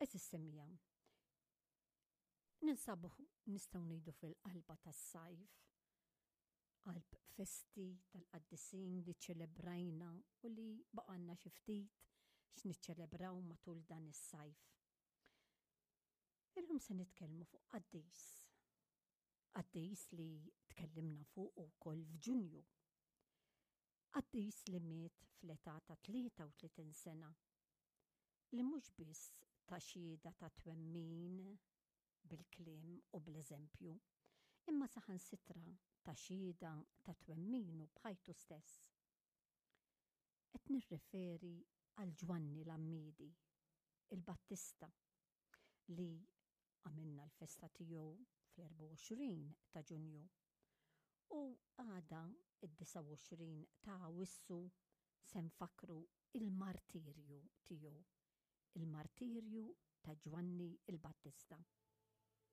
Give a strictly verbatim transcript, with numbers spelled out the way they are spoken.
Għeżież semmiegħa, ninsabu, nistgħu ngħidu, fil-qalba tas-sajf, qalb festi tal-qaddisin li ċelebrajna u li baqgħalna xi ftit x'niċċelebraw matul dan is-sajf. Illum se nitkellmu fuq qaddis. Qaddis li tkellimna fuq ukoll f'Ġunju. Qaddis li miet fl-età ta' tlieta u tletin sena. Li mhux biss ta xhieda ta' twemmin bil-kliem u bl-eżempju, imma saħansitra ta xhieda ta' twemminu b'ħajtu stess. Qed nirreferi għal Ġwanni l-Għammiedi, il-Battista, li għamilna l-festa tiegħu fl-erbgħa u għoxrin ta' Ġunju. U għada, id-disgħa u għoxrin ta' Awwissu, se nfakru il-martirju tiegħu, il-martirju ta' Ġwanni il-Battista.